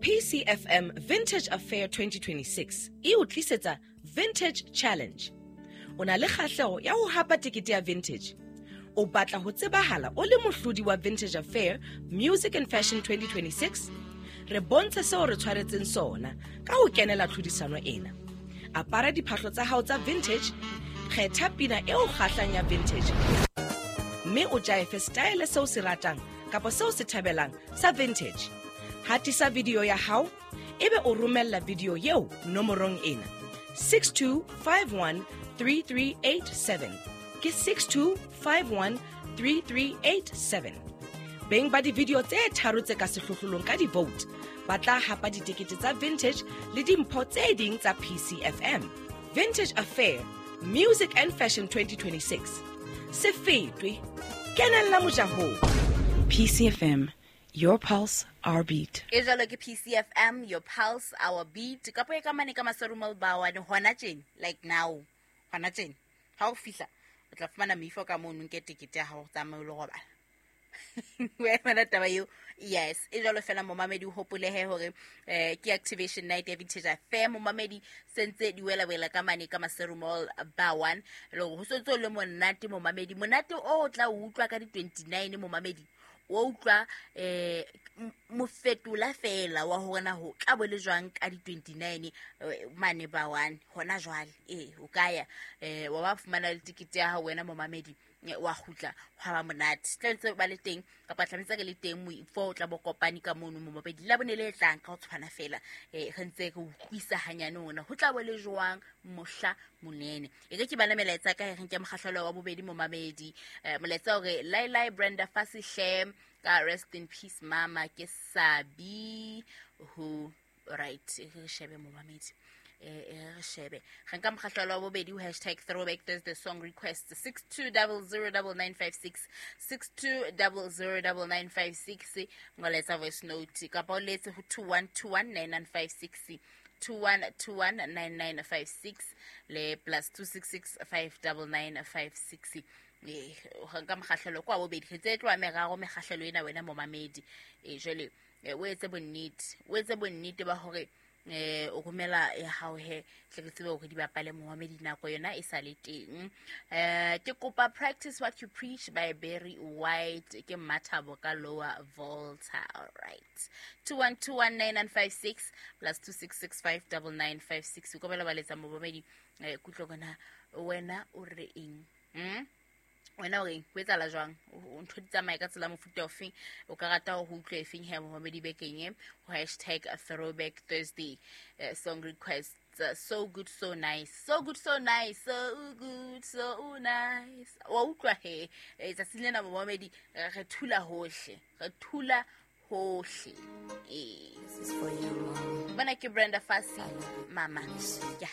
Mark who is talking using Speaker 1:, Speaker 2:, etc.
Speaker 1: PCFM Vintage Affair 2026 e o tlisetsa Vintage Challenge. O na le kgahleho ya ho hapa tekete ya Vintage. O batla ho tsebahala o le mohlodi wa Vintage Affair Music and Fashion 2026? Re bontshe seo re tshwaretseng sona ka ho kenela tlhodisano ena. Apara diphahlo tsa hao tsa vintage, kgetha pina e o kgahlang ya vintage mme o jaefe style seo se ratang kapa seo se thabelang sa vintage. Hatisa video ya hao ebe o romella video eo nomorong ena 62513387 ke 62513387. Beng ba di-video tse tharo tse ka sehlohlolong ka di-vote ba tla hapa ditekete tsa vintage le dimpho tse ding tsa PCFM. Vintage Affair Music and Fashion 2026. Se fetwe, kenella mojahong.
Speaker 2: PCFM, your pulse, our beat.
Speaker 3: E jalo ke PCFM, your pulse, our beat. Ka po e ka mane ka maserumal bawane hona tjena, like now, hona tjena. Ha o fihla, o tla fumana meifo ka mono, nke tekete ya hao, tsamaye o lo robala. Wena taba eo, yes, e jalo fela momamedi, o hopolehe hore ke activation night ya Vintage Affair. Momamedi, sentse di wela wela ka mane ka Maseru Mall ba one le hore ho sentse o le monate momamedi, monate o tla o utlwa ka di 29 momamedi, o utlwa mofetola fela wa hore na ho tla bo le jwang ka di 29 mane ba one hona jwale. O ka ya wa ba fumana le tikete ya hao wena momamedi, wa kgutla hwa ba monate. Tla ntse ba le teng kapa tlametse ke le teng moifo o tla bo kopane ka mono momamedi la bone le tlang ka ho tshwana fela, re ntse re utlwisa hanyane ona ho tla bo le jwang mohla monene. E re ke bana melaetsa ka re nke mokgahlelo wa bobedi momamedi, molaetsa hore lai lai Brenda Fasihle ka rest in peace mama ke Sabi ho right. Re shebe momamedi, re shebe re nka mokgahlelo wa bobedi hashtag throwback Thursday song request 62009956 62009956, ngoletsa voice note kapa o letse ho 21219956 21219956 le plus 266 59956. Re nka mokgahlelo kwa bobedi, re tse tloha meraro mekgahlelo ena wena momamedi. Jwale o etse bonnete, o etse bonnete ba hore o romela ya hao he tle re tsebe hore di bapale momamedi nako yona e sa le teng. Ke kopa Practice What You Preach by Barry White, ke Mathabo ka Lower Volta. All right, 21219956 plus 266 59956. O ka ba letsa momamedi, kutlo kona wena o re eng? Wena o reng, ho etsahala jwang, ntho di tsamaye ka tsela mofuta ofeng, o ka rata ho utlwa efeng he momamedi bekeng e ho hashtag throwback Thursday song request. So good, so nice, so good, so nice, so good, so nice. Wa utlwa he tsatsing lena momamedi, re thula hohle, re thula hohle.
Speaker 2: This is for you, Mom.
Speaker 3: Bona ke Brenda Fassie, mama. Ke.